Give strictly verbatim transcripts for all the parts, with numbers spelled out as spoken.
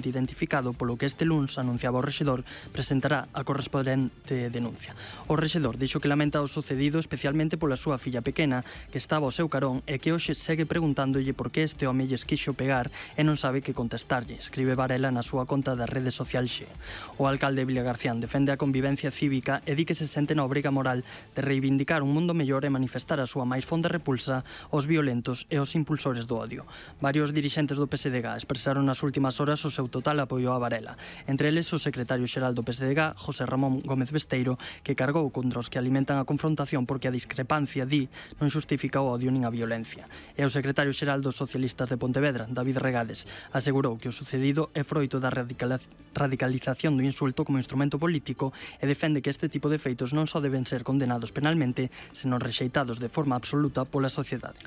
identificado, polo que este luns anunciaba o rexedor presentará a correspondente denuncia. O rexedor dixo que lamenta o sucedido especialmente pola súa filla pequena, que estaba ao seu carón e que hoxe segue preguntándolle por que este home lles quixo pegar e non sabe que contestarlle, escribe Varela na súa conta da rede social Xe. O alcalde Vilagarcían defende a convivencia cívica e di que se sente na obriga moral de reivindicar un mundo mellor e manifestar a súa máis fonda repulsa aos violentos e aos impulsores do odio. Varios dirixentes do P S D G expresaron nas últimas horas o seu total apoio a Varela. Entre eles, o secretario xeral do P S D G, José Ramón Gómez Besteiro, que cargou contra os que alimentan a confrontación porque a discrepancia, di, non xustifica o odio nin a violencia. E o secretario xeral dos socialistas de Pontevedra, David Regades, asegurou que o sucedido é froito da radicalización do insulto como instrumento político e defende que este tipo de feitos non só deben ser condenados penalmente, senón rexeitados de forma absoluta pola sociedade.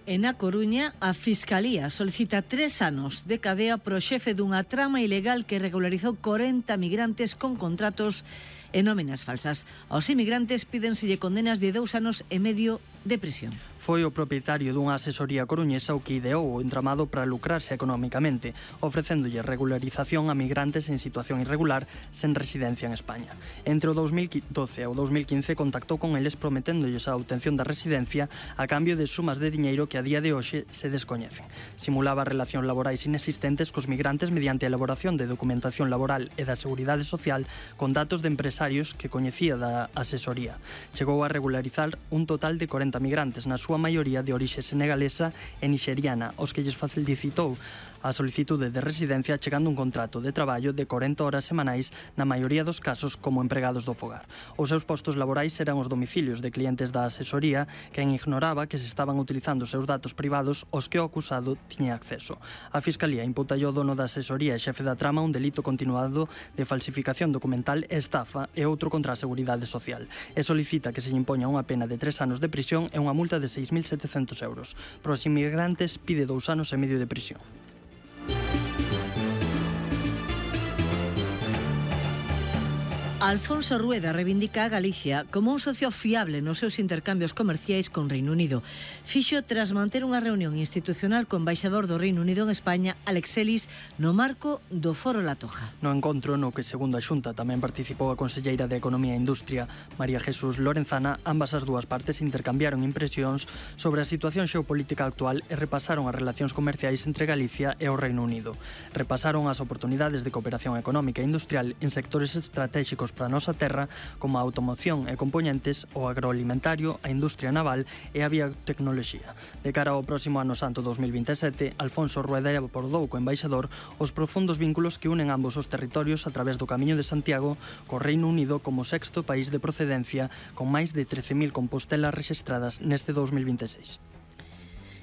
E na Coruña, a Fiscalía solicita tres anos de cadea pro xefe dunha trama ilegal que regularizou corenta migrantes con contratos e nóminas falsas. Aos inmigrantes pídenselle condenas de dous anos e medio de prisión. Foi o propietario dunha asesoría coruñesa o que ideou o entramado para lucrarse económicamente, ofrecéndolle regularización a migrantes en situación irregular sen residencia en España. Entre o dous mil doce e o dous mil quince contactou con eles prometéndolles a obtención da residencia a cambio de sumas de diñeiro que a día de hoxe se descoñecen. Simulaba relacións laborais inexistentes cos migrantes mediante a elaboración de documentación laboral e da seguridade social con datos de empresarios que coñecía da asesoría. Chegou a regularizar un total de corenta migrantes, na súa maioría de orixe senegalesa e nixeriana, os que lles facilitou a solicitude de residencia chegando un contrato de traballo de corenta horas semanais, na maioría dos casos como empregados do fogar. Os seus postos laborais eran os domicilios de clientes da asesoría, quen ignoraba que se estaban utilizando os seus datos privados aos que o acusado tiña acceso. A Fiscalía imputa ao dono da asesoría e xefe da trama un delito continuado de falsificación documental e estafa e outro contra a seguridade social, e solicita que se lle impoña unha pena de tres anos de prisión e unha multa de seis mil setecentos euros. Para os inmigrantes pide dous anos e medio de prisión. Alfonso Rueda reivindica a Galicia como un socio fiable nos seus intercambios comerciais con Reino Unido. Fixo tras manter unha reunión institucional co embaixador do Reino Unido en España, Alex Ellis, no marco do Foro La Toja. No encontro no que, segundo a Xunta, tamén participou a conselleira de Economía e Industria, María Jesús Lorenzana, ambas as dúas partes intercambiaron impresións sobre a situación xeopolítica actual e repasaron as relacións comerciais entre Galicia e o Reino Unido. Repasaron as oportunidades de cooperación económica e industrial en sectores estratégicos para a nosa terra, como a automoción e componentes, o agroalimentario, a industria naval e a biotecnoloxía. De cara ao próximo ano santo dous mil vinte e sete, Alfonso Rueda abordou co embaixador os profundos vínculos que unen ambos os territorios a través do Camiño de Santiago co Reino Unido como sexto país de procedencia, con máis de trece mil compostelas rexistradas neste dous mil vinte e seis.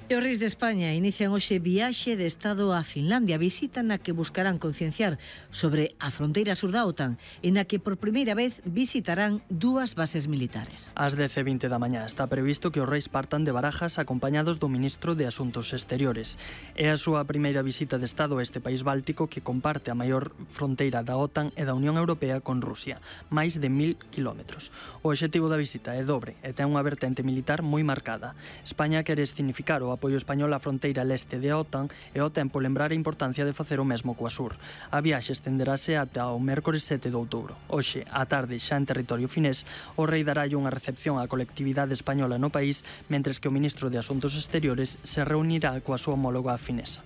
E os reis de España inician hoxe viaxe de Estado a Finlandia, visita na que buscarán concienciar sobre a fronteira sur da OTAN e na que por primeira vez visitarán dúas bases militares. Ás dez e vinte da mañá está previsto que os reis partan de Barajas acompañados do ministro de Asuntos Exteriores. É a súa primeira visita de Estado a este país báltico que comparte a maior fronteira da OTAN e da Unión Europea con Rusia, máis de mil kilómetros. O obxectivo da visita é dobre e ten unha vertente militar moi marcada. España quere significar o apoio español á fronteira leste da OTAN e ao tempo lembrar a importancia de facer o mesmo coa sur. A viaxe estenderase ata o mércores sete de outubro. Hoxe, á tarde, xa en territorio finés, o rei daralle unha recepción á colectividade española no país, mentres que o ministro de Asuntos Exteriores se reunirá coa súa homóloga finesa.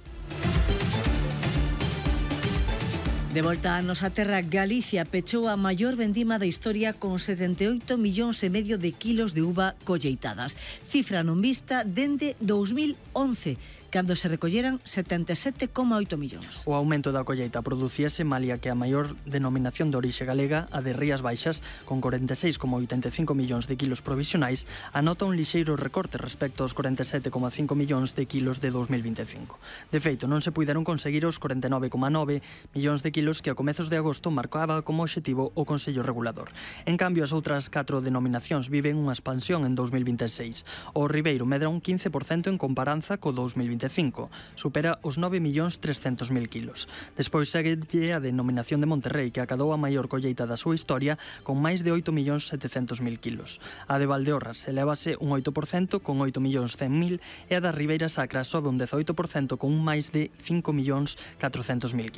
De volta a nosa terra, Galicia pechou a maior vendima da historia con setenta e oito millóns e medio de kilos de uva colleitadas. Cifra non vista dende dous mil once, cando se recolleran setenta e sete coma oito millóns. O aumento da colleita producíase malia que a maior denominación de orixe galega, a de Rías Baixas, con corenta e seis coma oitenta e cinco millóns de kilos provisionais, anota un lixeiro recorte respecto aos corenta e sete coma cinco millóns de kilos de dous mil vinte e cinco. De feito, non se puideron conseguir os corenta e nove coma nove millóns de kilos que a comezos de agosto marcaba como obxectivo o Consello Regulador. En cambio, as outras catro denominacións viven unha expansión en dous mil vinte e seis. O Ribeiro medra un quince por cento en comparanza co dous mil vinte e cinco, supera os nove millóns trescentos mil kilos. Despois séguelle a denominación de Monterrei, que acadou a maior colleita da súa historia con máis de oito millóns setecentos mil kilos. A de Valdeorras elevase un oito por cento con oito millóns cen mil e a da Ribeira Sacra sobe un dezoito por cento con máis de cinco millóns catrocentos mil kilos.